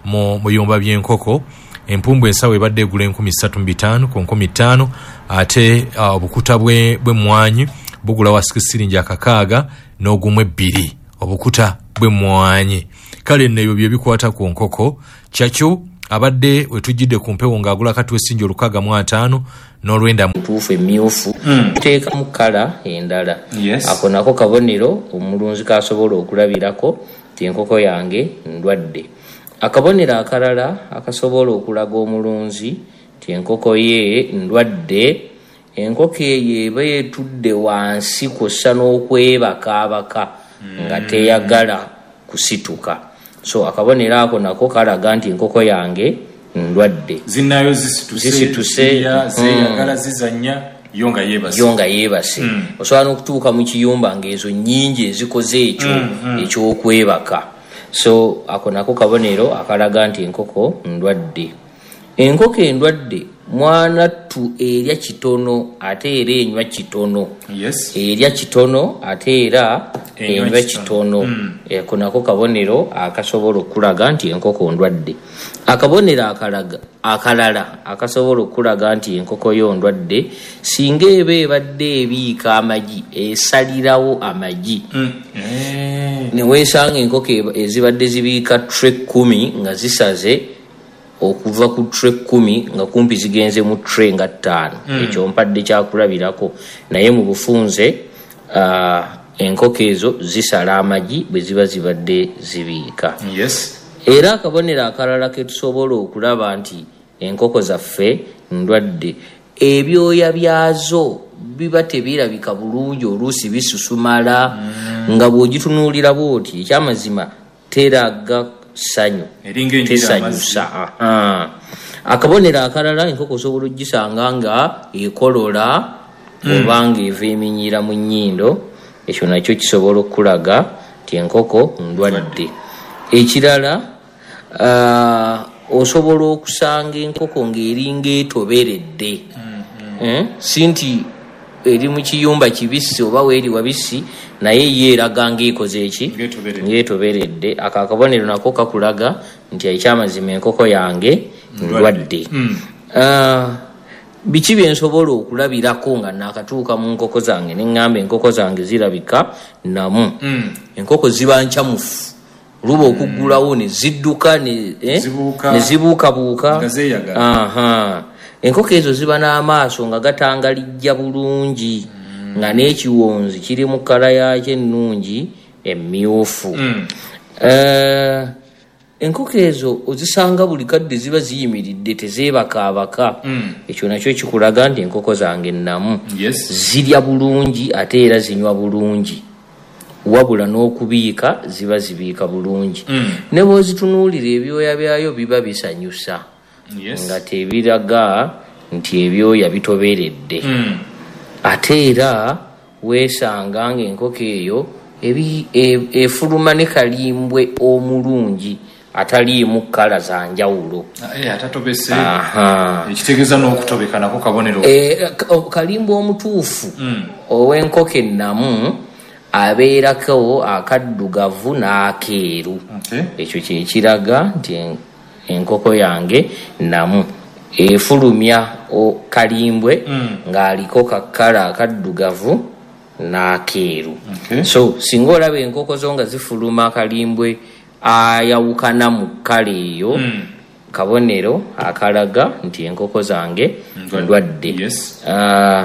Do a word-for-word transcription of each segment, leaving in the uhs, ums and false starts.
Mu biyumba by'enkoko, empumbu ensawo ebadde egula enkumi ssatu mu bitaano ku nkumi ttaano, ate uh, obukuta bwe- bw'emmwanyi bugula wasiki siringi akakaaga n'ogumu ebbiri, obukuta bw'emmwanyi. Kale nno ebyo bye bikwata ku nkoko. Kyakyo abadde wetujjidde ku mpewo ng'agula katuwe siringi olukaaga mu ataano n'olwenda. Ntuufu emyufu, teekamu colour endala. Yes. Ako nako kabonero omulunzi kasobola okulabirako ti enkoko yange ndwadde. Akabonero akalala akasobola okulaga omulunzi ti enkoko ye ndwadde, enkoko eyo eba etudde wansi kw'ossa n'okwebakaabaka nga teyagala kusituka. So akabonero ako nako kalaga nti enkoko yange ndwadde. Zinnayo zisituse, Zisituse, zirya, mm. zeeyagala, zizannya, yo nga yeebase. Yo nga yeebase. Osobola n'okutuuka mu kiyumba ng'ezo nnyingi ezikoze ekyo ekyokwebaka. So ako nako kabonero akalaga nti enkoko ndwadde. Enkoko endwadde, mwanattu, erya kitono ate era enywa kitono. Yes erya kitono ate era Enywa enywa kitono. kitono. Ako nako kabonero akasobola okulaga nti enkoko ndwadde. Akabonero akalaga akalala akasobola okulaga nti enkoko yo ndwadde, singa eba ebadde ebiika amagi, esalirawo amagi. Eh. Neweesanga enkoko eba- ezibadde zibiika tray kumi nga zisaze okuva ku tray kumi nga kumpi zigenze mu tray nga ttaano. Ekyo mpadde kyakulabirako, naye mu bufunze ah, enkoko ezo zisala amagi bwe ziba zibadde zibiika. Yes era akabonero akalala ke tusobola okulaba nti enkoko zaffe ndwadde, ebyoya byazo biba tebirabika bulungi, oluusi bisusumala, nga bw'ogitunuulira bwoti, ekyamazima teraga ssanyu. Eringa enjira. Tesanyusa. Aha. Akabonero akalala, enkoko osobola ogisanga nga ekolola oba nga eva eminyira mu nnyindo. Ekyo nakyo kisobola okulaga nti enkoko ndwadde. Ekirala, ah, osobola okusanga enkoko ng'eringa etoberedde. Eh, si nti eri mu kiyumba kibisi oba weeri wabisi, naye ye eraga ng'ekoze eki? Ng'etoberedde. Ng'etoberedde. Ako akabonero nako kakulaga nti ekyamazima enkoko yange ndwadde. Ah, biki byensobola okulabirako nga nakatuuka mu nkoko zange neŋŋamba enkoko zange zirabika namu? Enkoko ziba nkyamufu, luba okuggulawo ne zidduka ne eh, Zibuuka. ne zibuukabuuka. Nga zeeyagala. Aha. Enkoko ezo ziba n'amaaso nga gatangalijja bulungi, nga n'ekiwonzi kiri mu colour yakyo ennungi emmyufu. Eh, enkoko ezo ozisanga buli kadde ziba ziyimiridde, tezeebakaabaka. Ekyo nakyo kikulaga nti enkoko zange nnamu. Yes zirya bulungi ate era zinywa bulungi, wabula n'okubiika ziba zibiika bulungi. Ne bw'ozitunuulira, ebyoya byayo biba bisanyusa, yes nga tebiraga nti ebyoya bitoberedde. Mm. Ate era weesanga ng'enkoko eyo ebi- e- efuluma ne kalimbwe omulungi ataliimu colour za njawulo. Eh, atatobese. Aha. Ekitegeeza n'okutobeka nako kabonero. Eh, ka- kalimbwe omutuufu ow'enkoko ennamu abeerako akaddugavu n'akeeru. Okay. Ekyo kyekiraga nti en- enkoko yange namu, efulumya o- kalimbwe ng'aliko ka colour akaddugavu n'akeeru. Okay. So singa olaba enkoko zo nga zifuluma kalimbwe ayawukana mu colour eyo, kabonero akalaga nti enkoko zange ndwadde. Yes. Ah,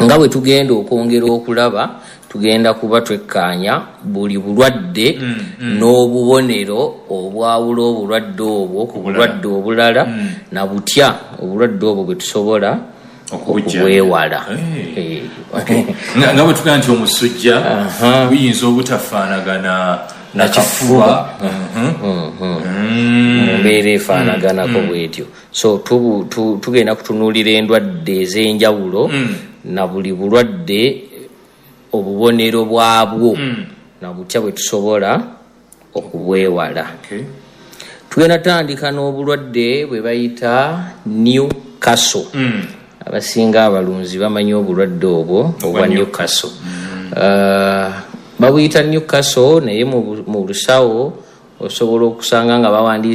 nga bwe tugenda okwongera okulaba, tugenda kuba twekkaanya buli bulwadde n'obubonero obwawula obulwadde obwo ku bulwadde obulala, na butya obulwadde obwo bwe tusobola Okubujja. okubwewala. Hey. Eh. nga nga bwe tugamba nti omusujja Aha. guyinza obutafaanagana na kifuba. Mhm. Mu mbeera efaanaganako bwetyo. So tubu- tu- tugenda kutunuulira endwadde ez'enjawulo na buli bulwadde obubonero bwabwo na butya bwe tusobola okubwewala. Okay. Tugenda tandika n'obulwadde bwe bayita Newcastle. Abasinga abalunzi bamanyi obulwadde obwo obwa Newcastle. Uh, babuyita Newcastle, naye mu bu- mu lusawo osobola okusanga nga bawandiise.